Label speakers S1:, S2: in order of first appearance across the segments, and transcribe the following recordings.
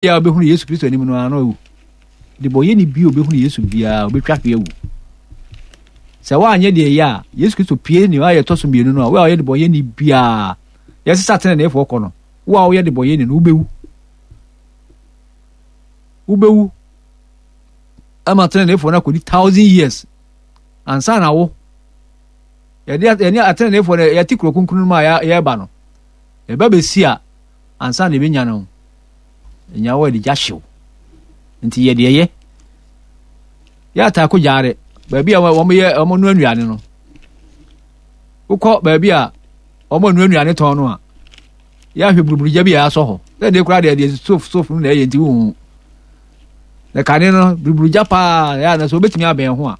S1: Biara a ɔbɛhunu Yesu Kristo anim no ara na wawu. Debɔyɛni bi a ɔbɛhunu Yesu biara, ɔbɛtwa hwe awu. Sɛ woanyɛ deɛ ɛyɛ a, Yesu Kristo pie ne ayɛ ɛtɔ so mmienu no a, wo a ɔyɛ debɔyɛni biara, yɛsesa teneneefoɔ kɔ no, wo a woyɛ debɔyɛni no, wobɛwu. Wobɛwu ama teneneefoɔ no akɔdi 1,000 years ansa na wo yɛde yɛne ateneneefoɔ no yɛte kuro kronkron no mu a yɛreba no, yɛba bɛsi a ansa na yɛbɛnya no. Nya wɔ de gya hyew. Nti yɛ deɛ yɛ. Yɛ ataako gyaare. Baabi a wɔn yɛ wɔn nua nnuane no. Wokɔ baabi a wɔn nua nnuane tɔn no a, yɛ ahwɛ buruburu gya bi a asɔ hɔ. Sɛ deɛ koraa deɛ deɛ sof sof no na ɛyɛ nti wohu. Na kane no buruburu gya paa yɛ a na sɛ wobɛtumi abɛn ho a.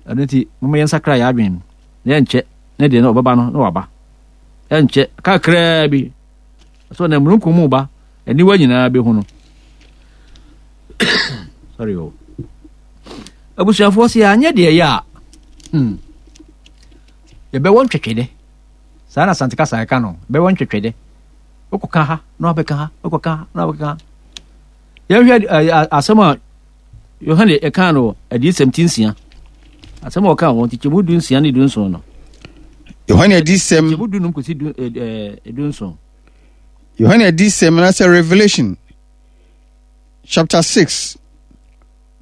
S1: Ɛno nti moma yɛnsakra yɛ adwene na yɛnkyɛ ne deɛ no ɔbɛba no na waba. Ɛnkyɛ kakraa bi So na mununkum mu ba, aniwa nyinaa bɛhu no. Sorry o. Abusuafoɔ sɛ yɛanyɛ deɛ ɛyɛ a, yɛbɛwɔ ntwɛtwɛdɛ. Saa na Asante kasa ɛka no, bɛwɔ ntwɛtwɛdɛ. Wokɔka ha na wabɛka ha, wokɔka ha na wabɛka ha. Yɛnhwɛ asɛm a Yohane ɛkaa no Adiyisɛm ti 6. Asɛm a ɔkaa wɔ nkyekyɛmu 16 ne 17 no.
S2: Yohane Adiyisɛm.
S1: Nkyekyɛmu 15 kɔsi 17.
S2: Yohane Adiyisɛm anaasɛ Revelation chapter 6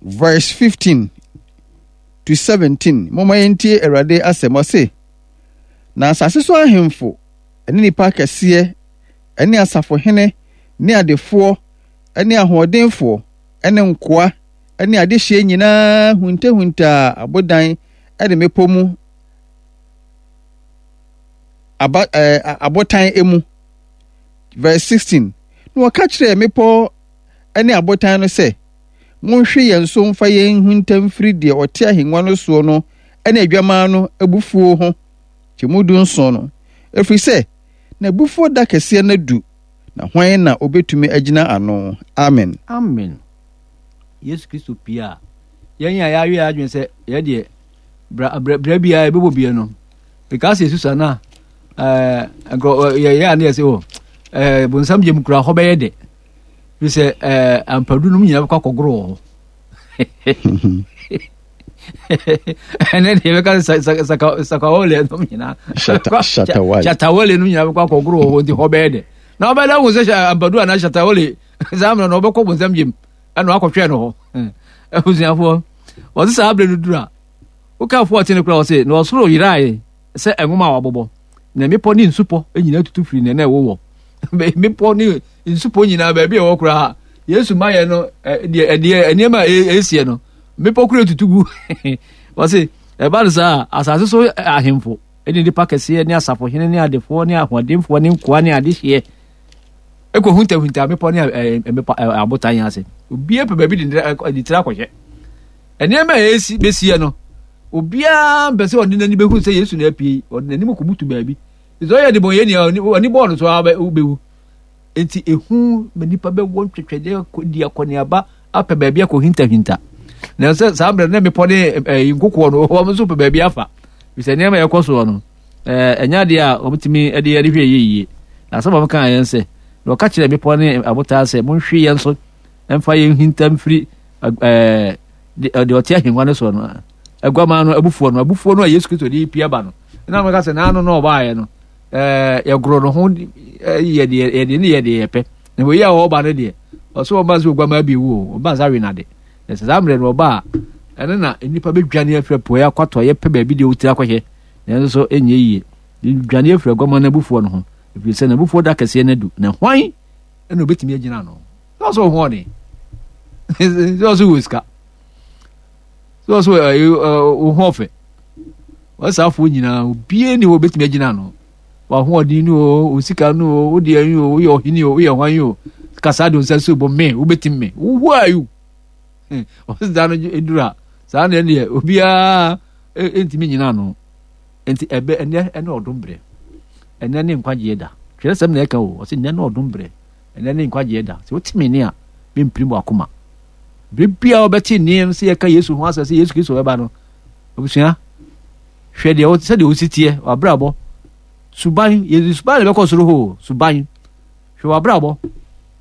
S2: verse 15 to 17. Momma yɛntie Awurade asɛm. Ɔse, na asase so ahemfo ne nnipa akɛseɛ ne asafohene ne adefoɔ ne ahoɔdenfoɔ ne nkoa ne adehyeɛ nyinaa huntahuntaa abodan ne mmepɔ mu aba ɛɛ abotan mu. Verse 16. Na wɔka kyerɛɛ mmepɔ ne abotan no sɛ, Monhwe yɛn so mfa yɛn nhunta mfiri deɛ ɔte ahengua no soɔ no ne adwamaa no abufuo ho. Kyɛmu 17 no, ɛfiri sɛ n'abufuo da kɛseɛ no adu, na hwan na ɔbɛtumi agyina ano? Amen.
S1: Amen. Yesu Kristo pie a, yɛn a yɛawe yɛn adwene sɛ yɛ deɛ bra bra bra biara yɛbɛbɔ bie no, because yɛsu sa na ɛɛ nkurɔ yɛyɛ a ne yɛ sɛ o ɛɛ bonsam gyem kura hɔ bɛyɛ dɛ, fi sɛ ɛɛ ampadu nom nyinaa bɛkɔ akɔgoro wɔ hɔ. Ɛnɛ deɛ bɛka sɛ sakawole nom nyinaa shatawale nom nyinaa bɛkɔ akɔgoro wɔ hɔ nti hɔ bɛyɛ dɛ. Na ɔbɛda hu sɛ ampadu anaa shatawale saa mmerɛ no ɔbɛkɔ bonsam gyem ɛna wakɔhwɛ no hɔ. Abusuafoɔ, wɔse saa berɛ no duru a, woka 14 koraa, wɔse na ɔsoro yerae sɛ nwoma a wɔabobɔ, na mmepɔ ne nsupɔ nyinaa tutu firi nea na ɛwowɔ. Mmepɔ ne nsupɔ nyinaa baabi a ɛwɔ koraa Yesu ma yɛ no, deɛ ɛdeɛ nneɛma a ɛsiɛ no, mmepɔ koraa tutu gu. Wɔse ɛba no saa, asase so ahemfo ne nnipa kɛseɛ ne asafohene ne adefoɔ ne ahoɔdenfoɔ ne nkoa ne adehyeɛ ɛkɔhuntahunta mmepɔ ne mmepɔ abotan ase. Obiara pɛ baabi de ne tiri akɔhyɛ. Nneɛma a ɛsi bɛsiɛ no, obiara mpɛ sɛ ɔde n'ani bɛhu sɛ Yesu na apue yi, ɔde n'anim kɔbutu baabi. Sɛ ɔyɛ debɔnyɛni a, ɔni bɔɔ no so a wobɛwu. Enti ehu ma nnipa bɛwɔ ntwetwɛdeɛ di akɔneaba apɛ baabi akɔhintahinta. Nanso saa mmerɛ no na mmepɔ ne nkokoɔ no, wɔn nso pɛ baabi afa. Fisɛ nneɛma a ɛkɔ soɔ no, ɛnyɛ adeɛ a wɔtumi de yɛde hwɛ yɛ yie. Na asɛm a wɔkaa yɛn sɛ, na wɔka kyerɛ mmepɔ ne abotaa sɛ, monhwe yɛn so mfa yɛn hinta mfiri deɛ ɔte ahengua no soɔ no, aguaman no abufuo no, abufuo no a Yesu Kristo de pia ba no. Na wɔka sɛ, n'ano na ɔbaeɛ no, yɛgoro no ho yɛ deɛ yɛde ne yɛ deɛ yɛpɛ. Na wei a ɔreba no deɛ, ɔsɛ ɔba sɛ oguaman bi wu o, ɔba sɛ awe n'ade. Na sɛ saa mmerɛ no ɔba a, ɛno na nnipa bɛdwane afiri apueɛ akɔ atɔeɛ pɛ baabi deɛ wotiri akɔhyɛ, nanso so ɛnyɛ yie. Dwane afiri aguaman no abufuo no ho, ɛfiri sɛ n'abufuo da kɛseɛ no adu, na hwan na obɛtumi agyina ano? Sɛ ɔsɛ ɔho ɔden, sɛ ɔsɛ wɔ sika, sɛ ɔsɛ wo ho ɔfɛ, wɔsaafoɔ nyinaa obiara ni hɔ obɛtumi agyina ano. W'ahoɔden no o, wo sika no o, wo deɛ yi o, woyɛ ɔhene o, woyɛ hwan o, kasa de nsa si bɔ me, wobɛtim me. Who are you? Ɔsi da no eduru a, saa na ɛneɛ obiara ntumi nyina ano. Nti ɛbɛ ɛnɛ ɛne ɔdom berɛ. Ɛnɛ ne nkwagyeɛ da. Twerɛsɛm na ɛka o, ɔsi ɛnɛ ne ɔdom berɛ. Ɛnɛ ne nkwagyeɛ da. Sɛ wote me nne a, mempirim w'akoma. Bere biara wobɛte nne no sɛ yɛka Yesu ho asɛm sɛ Yesu Kristo bɛba no, abusua, hwɛ deɛ sɛdeɛ wosi teɛ, w'abrabɔ, suban, yɛde suban na ɛbɛkɔ soro hɔ o, suban. Hwɛ w'abrabɔ.